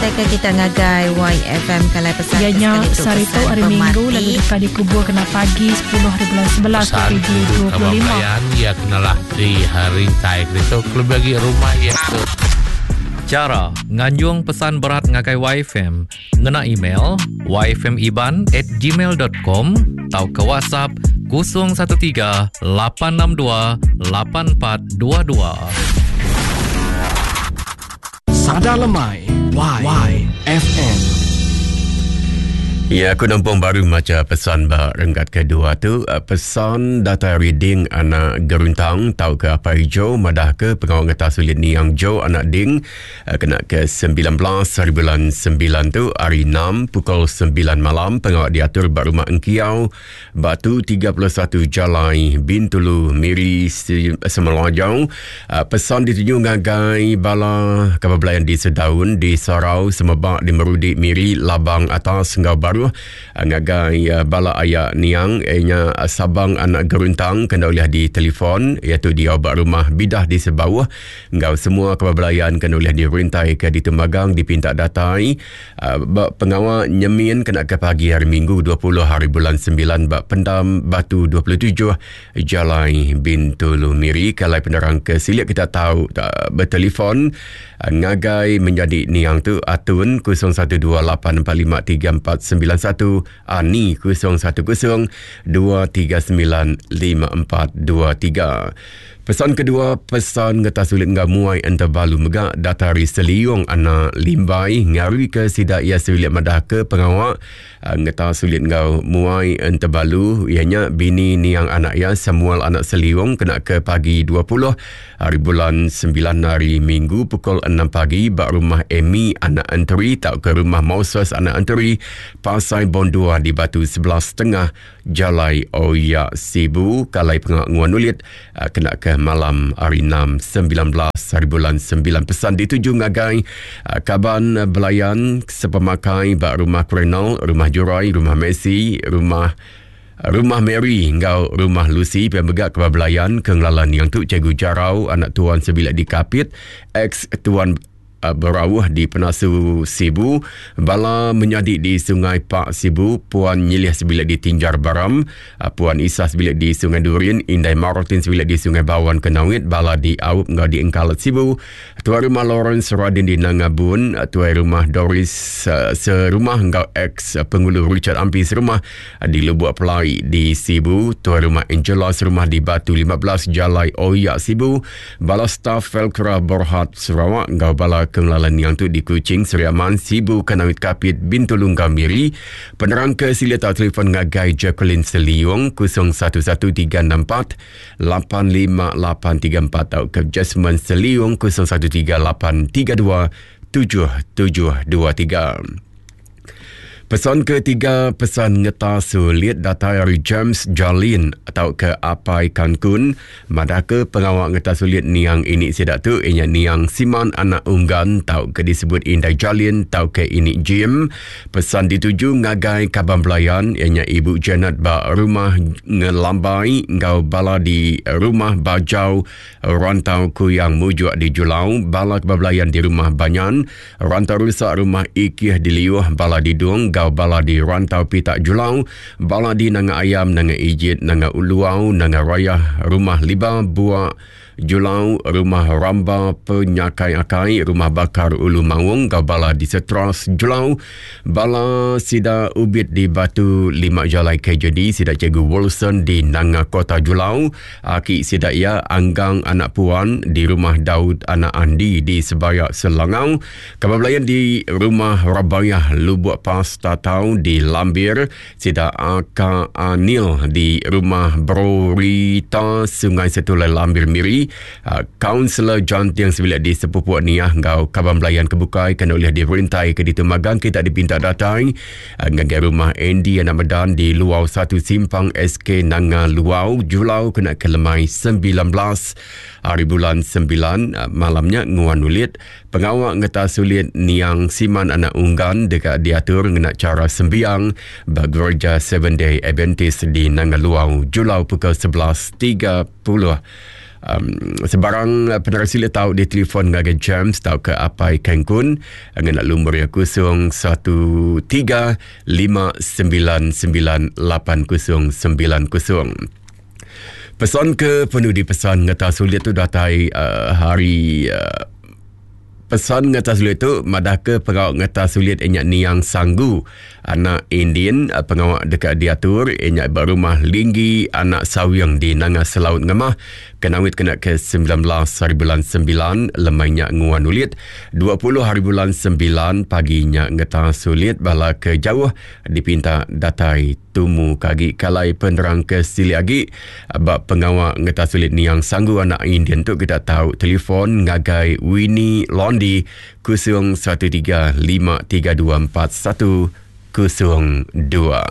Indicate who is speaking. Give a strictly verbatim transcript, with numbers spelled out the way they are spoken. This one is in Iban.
Speaker 1: Ngenatai ke kita ngagai Y F M kalai pesan
Speaker 2: ya nya sehari tu hari Minggu lalu dekat dikubur kena pagi sepuluh hari bulan sebelas dua ribu dua puluh lima.
Speaker 3: Ya kenalah di hari tai itu lebih lagi rumah ya tu.
Speaker 4: Cara nganjung pesan berat ngagai Y F M ngena email y f m iban at gmail dot com atau ke WhatsApp kosong satu tiga lapan enam dua lapan empat dua dua.
Speaker 5: Sada Lemai Y, Y F M.
Speaker 6: Ya, aku nampung baru maca pesan ba renggat kedua tu. Pesan data reading anak geruntang tau ke apa hijau madah ke pengawal ngetah sulit niang Jo anak ding kena ke sembilan belas hari bulan sembilan tu hari enam pukul sembilan malam pengawal diatur ba rumah Engkiau Batu tiga puluh satu Jalai Bintulu Miri Semelajau. Pesan dituju ngagai bala kabar belayan di Sedaun di Sarau Semebak di Merudi Miri Labang Atas ngau baru ngagai bala ayak niang ianya Sabang anak geruntang kena oleh di telefon iaitu di obat rumah bidah di Sebawah ngau semua kebelayan kena oleh dirintai ke di Temagang dipinta datai pengawal nyemin kena ke pagi hari Minggu dua puluh hari bulan sembilan bak Pendam Batu dua puluh tujuh Jalai Bintulu Miri. Kalau penerang ke silik kita tahu tak bertelefon ngagai menjadi niang tu Atun kosong satu dua lapan empat lima tiga empat sembilan satu Ani kosong satu kosong dua tiga sembilan lima empat dua tiga. Pesan kedua, pesan ngetah sulit ngah muai enterbalu megak datari Seliung anak Limbai ngari ke sidak ia sulit madah ke pengawak ngetah sulit ngah muai enterbalu ianya bini niang anak ia Samuel anak Seliung kena ke pagi dua puluh hari bulan sembilan hari Minggu pukul enam pagi bak rumah Amy anak Enteri tak ke rumah Moses anak Enteri Pasai Bondua di Batu sebelas Tengah Jalai Oya Sibu. Kalai pengawak nguan ulit kena ke malam hari enam sembilan belas hari bulan sembilan. Pesan dituju ngagai kaban belayan sepemakai bak rumah Krenal, rumah Jurai, rumah Messi, rumah Rumah Mary ngau rumah Lucy pemegak ke belayan kenglalan yang tu Cikgu Jarau anak tuan sebilik di Kapit ex tuan Berawuh di Penasu Sibu, bala menyadi di Sungai Pak Sibu, Puan Nyilih sebilik di Tinjar Baram, Puan Isa sebilik di Sungai Durin, Indai Martin sebilik di Sungai Bawan Kenawit, bala di Aup ngau di Engkalat Sibu, tuan rumah Lawrence Radin di Nangabun, tuan rumah Doris serumah ngau ex penghulu Richard Ampi serumah di Lubuk Pelai di Sibu, tuan rumah Angela serumah di Batu lima belas Jalai Oyak Sibu, bala staf Felcra Borhat Sarawak ngau bala kenglalan yang tu di Kuching, Seri Aman, Sibu, Kanawit Kapit, Bintulu, Miri. Penerang ke sila tak telefon ngagai Jacqueline Seliung kosong satu satu tiga enam empat lapan lima lapan tiga empat atau ke Jasmine Seliung kosong satu tiga lapan tiga dua tujuh tujuh dua tiga. Pesan ketiga, pesan ngeta sulit data dari James Jalin atau ke Apai Cancun. Madah ke pengawal ngeta sulit niang ini sedak tu, ianya niang Siman anak Unggan atau ke disebut Indai Jalin atau ke ini Jim. Pesan dituju ngagai kaban belayan, ianya Ibu Janet ba rumah Ngelambai, ngau bala di rumah Bajau, Rantau Kuyang Mujuk di Julau, bala kebelayan di rumah Banyan, Rantau Rusak rumah Ikih di Liuh, bala di Dung, Gau bala di Rantau Pitak Julau, bala di Nanga Ayam, Nanga Ijit, Nanga Uluau, Nanga Raya, Rumah Liba, Buak Julau, Rumah Ramba Penyakai Akai, Rumah Bakar Ulu Maung, Gau bala di Setras Julau, bala Sida Ubit di Batu Lima Jalai K J D, Sida Cikgu Wilson di Nanga Kota Julau, Aki Sida Ia Anggang Anak Puan di Rumah Daud Anak Andi di Sebayak Selangau, kabar belayan di Rumah Rabayah Lubuk Pas Tatau di Lambir, Sida Aka Anil di Rumah Brorita Sungai Setulai Lambir Miri, Kaunselor uh, John Tiang sebilik di Sepupuk Niah ngau kaban belayan kebukai kena oleh dirintai ke di Temagang kita dipinta datai uh, ngagai rumah Andy anak Medan di Luau satu Simpang S K Nanga Luau Julau kena kelemai sembilan belas hari bulan sembilan uh, malamnya nguan ulit pengawak ngeta sulit niang Siman anak Unggan dekat diatur ngena cara sembiang bergereja Seven Day Adventist di Nanga Luau Julau pukul sebelas tiga puluh Um, sebarang penerang sila tahu di telefon ngagai James tau ke Apai Kengkun ngena lumur ya kosong satu tiga lima sembilan sembilan lapan kosong sembilan kosong. Pesan ke penudi pesan ngeta sulit tu datai uh, hari uh, pesan ngeta sulit tu madah ke pengawak ngeta sulit inyak niang sanggu anak Indian pengawak dekat diatur inyak berumah linggi anak sawiang di Nanga Selaut Ngemah kenawit kena ke sembilan belas hari bulan sembilan lemainya nguan ulit dua puluh hari bulan sembilan paginya ngeta sulit bala ke jauh dipinta datai tumu kagi kalai penerang ke sili agi bab pengawak ngeta sulit niang sanggu anak Indian tu kita tahu telefon ngagai Winnie Londi kosong satu tiga lima tiga dua empat satu kosong dua.